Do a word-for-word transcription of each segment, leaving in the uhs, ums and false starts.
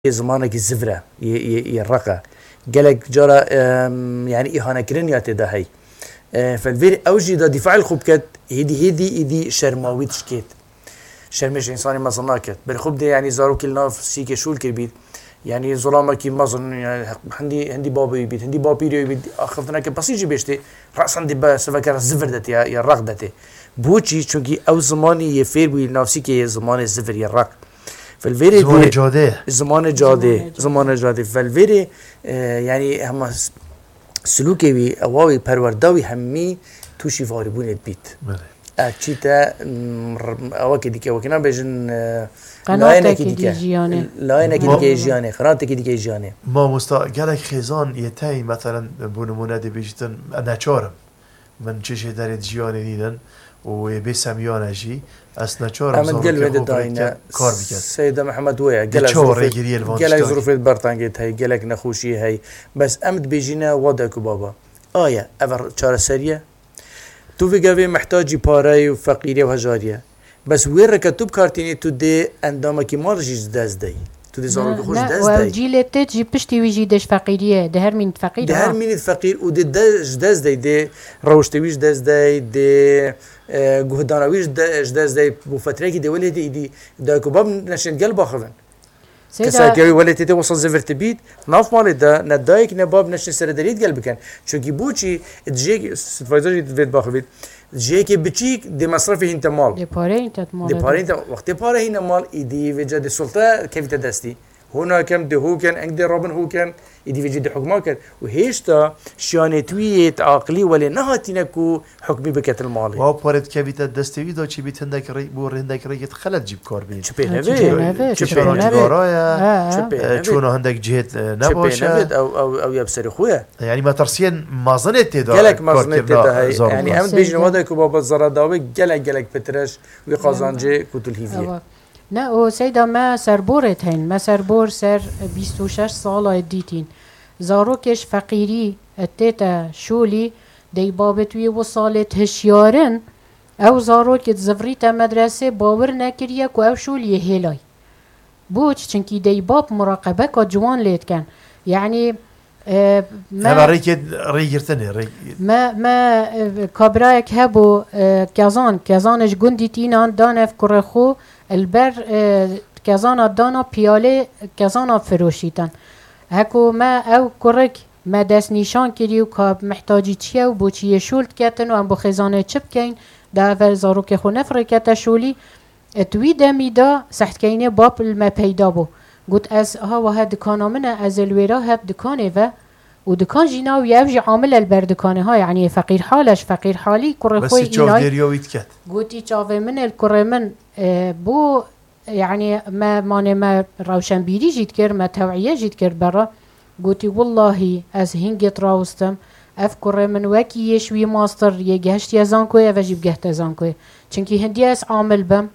Yê zimanekî zivr e, yê, yê, yê req e. Gelek cara, em, yanî îhanekirin ya tê de hey. E, felvêr ew jî da dîfail xwe biket, hêdî, hêdî, êdî şerma wî dişkêt. Şermê ji însanê mezin naket. Berê xwe bidê, yanî zarokî li nav sîkê şûl kiribît. Yanî zulamekî mezin, yanî hindî, hindî babê wî bît, hindî bapîrê wî bît, axiftineke besî jî bêştê. Resan dê be seveke zivir de tê ya, ya req de tê. Boçî? Çunkî ew zimanî yê fêr bûyî li nav sîkê yê zimanê zivir yê req. Felvêrê Zimanê dê cadê. Zimanê cadê. Zimanê cadê. Zimanê cadê. Felvêrê, e, yanî hema s-, silûkê wî, ewa wî, perwerda wî hemî tûşî varîbûnê dibît. Belê. E, çî te, m, r-, ewekê dike, wekî nabêjin, e, Qenatekî layenekî dike. Dî jiyanê. Layenekî Ma- dike jiyanê, qenatekî dike jiyanê. Mamosta, gelek xêzan yê te, meselen, bo nimûne dê bêjîtin, e, neçar im. Min çi jêderê di jiyanê nînin û ê bê semiyane jî, ez neçar im Em gel zarokê wê xwe de bi rê dayne. Kar biket. Seyda Mihemed wê ye. Dê Gelek çawa zirûfê, rêgiriyê li van gelek tiştan zirûfê di bertengê de hey, gelek nexweşiyê hey. Bes em dibêjîne wa dayk û baba. Aye, ev çareserî ye. Tu vê gavê mihtacî pareyê û feqîriyê û hejariyê. Bes wê reke tu bi kar tînî, tu dê endamekî mal jî ji dest dey. Tu dê zarokê xwe ji dest dey. Cîlê te jî piştî wî jî dê ji feqîriyê, dê her mînî feqîr. Dê her mînî feqîr û dê de, ji dest dey, dê rewiştê wî ji dest dey, dê, e, guhdana wî ji de, ji dest dey. Bo fetrekî dê welê dê îdî dayk û bab neşên gel baxivin. Kesayeke wî welê tê tê wisa zivir tibît, nav malê de ne dayik ne bab neşin serederî digel bikin. Çunkî boçî, di jiyek-, Sitfayza jî divêt baxivît, di jiyekê biçîk dê mesrefê hîn te mal. Dê pareyên te mal. Dê pareyên te, wextê pare hîne mal, îdî vêca dê sulte kevîte destî. Hû nakem, dê hû ken, eng dê rabin hû ken, îdî vêca dê hukma ken. Û hêşta şiyanê tu yê aqilî welê nehatîne ku hukmî biketin malê. Wa parê dikevîte destê wî de çi bît hindek rê-, bo hindek rêkê xelet jî bi kar bînin. Çi pê Ha, nevê? çi pê nevê, Çi çi pê pê nevê? nevê? Cigara ye, Ha. Çi pê e, nevê? Çûna hindek cihêt, e, Çi pê nebaş e. nevê? Ew, ew, ew ya bi serê xwe ye. Yanî metirsiyên mezinê tê de Gelek mezinê tê karkirina de heye. zarokê. Yanî em Seyda. bêjin wa dayk û baba zeradawe gelek, gelek pitir e ji wî qazancê ku tu li hîvî ye. Ewa. Ne, û seyda me serborê heyîn. Me serbor ser bîst û şeş sala dîtîn. Zarokê ji feqîrî tê te şolî, dey babê tu yê wisa lê hişyar in, ew zarokê dizivrîte medresê, bawir nekiriye ku ew şoliyê hêlay. Boç? Çinkî dey bab muraqebeka ciwan lê dikin. Yanî, e, me Hema rêkê rêgirtinê, rê- me, me, e, kabirayek hebû, e, Kezan, Kezanê ji gundî tînan dan ev kurê xwe, li ber, e, Kezana dana piyalê Kezana firoşîtin. Heko me ew kurik me destnîşan kirî û ka mihtacî çi ye û bo çi yê şûl diketin û em bo xêzanê çi bikeyn, da ev zarokê xwe nefirêkete şolî. Di wî demî de sehtkeynê bab li me peyda bû. Got, ez ha wahe dikana min e, ez ê li wêra heb dikanê ve û dikan jî navî ev jî amil e li ber dikanê ha, yanî feqîrhal e, ji feqîrhalî kurê Bes xwe yê çav îlay. dêriya wî diket. Gotî, çavê min ê li kurê min, e, bû, yanî me, manê me rewşenbîrî jî dikir, me tew'iye jî dikir bera. Gotî, willahî ez hingêt rawustim. Ev kurê min wekî yê ji wî mastir yê gehiştiye zankoyê, ev e jî bigehte zankoyê. Çinkî hindî ez amil bim.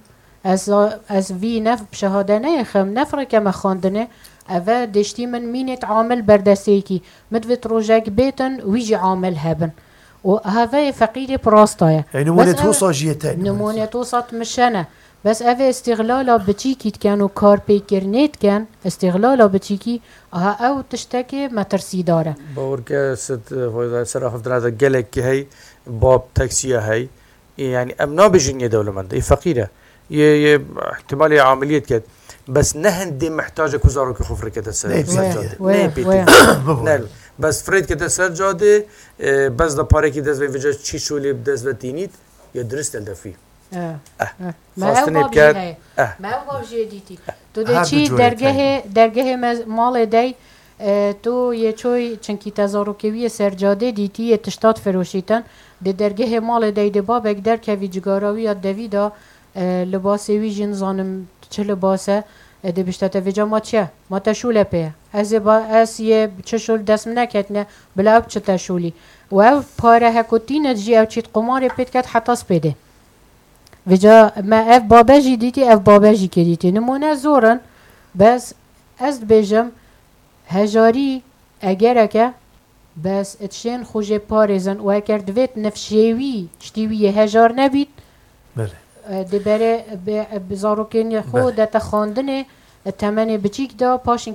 Ez, ez vî ne bi şehade neyêxim, ne fireke me xwendinê. Ev e dêştî min mînêt amil berdestêkî. Min divêt rojek bêtin, wî jî amil hebin. Û heveyê feqîrê bi rasta ye. Ey, nimûnê Bes ev tosa jî yê te, nimûnê nimûnê tosa. tosa dimişene. Bes ev ê îstîxlala biçîkî diken û karpêkirinê diken, îstîxlala biçîkî, aha ew tiştekê metirsîdar e. Bawer ke sit, e, ser axiftina de gelek hey, bab taksiya hey. Ê, yanî em nabêjin yê dewlemend, yê feqîr e. Yê, yê ihtimalê amiliyet ket. Bes ne hindê mihtac e ku zarokê xwe firêkete ser, Neyê ser pêtî. cadê. Wê, Neyê pêtî. wê. Bibû. Ne, bes firêkete ser cadê, e, bes da parekî dest ve vêca çî şolê bi dest ve tînît, ya dirist el defî. Eh, Eh. eh. Me ew Xwestinê bab jî biket. heye. Eh. Me ew bab jî dîtî. Tu dê Her çî du cûrê dergehê, teyne. dergehê me, malê dey, e, tu yê çoy, çinkî te zarokê wî yê ser cadê dîtî, yê tişta difiroşîtin. Di dergehê malê dey dê babek derkevî cigara wî ya devî de, e, libasê wî jî nizanim çi libas e, e, dê bişte te vêca ma çi ye? Ma te şûle pê ye. Ez ê ba, ez yê çi şûl dest min neketine, bila ew çi te şûlî. Û ev pare heko tîne jî ew çît qumarê pê diket heta spêdê. Vêca me ev babe jî dîtî, ev babe jî kê dîtî. Nimûne zor in, bes ez dibêjim, hejarî egereke, bes tiştên xwe jê parêzin û eger divêt nifşê wî, tiştî wî yê hejar nebît, Belê. e, dê berê bi, bi zarokên xwe Belê. dete xwendinê, e, temenê biçîk de, paşin